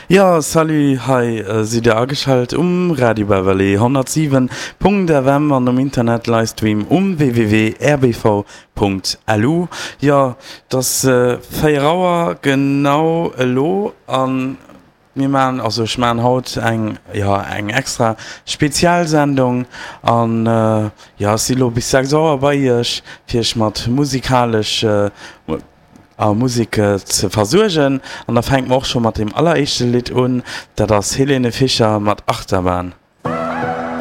Jo, salut, hei sidd der ageschalt um Radio Beverly 107.fm an um Internet Livestream um www.rbv.lu. Jo, et ass 4 Auer genau elo an mir maachen, also ech maachen haut eng, jo, eng extra Spezialsendung an jo, ech si lo bis 6 Auer bei iech fir iech mat musikalesch a Musek ze versuergen. An da fänke mer och scho mat deem alleréischte Lidd un, dat ass Helene Fischer mat Achterbahn.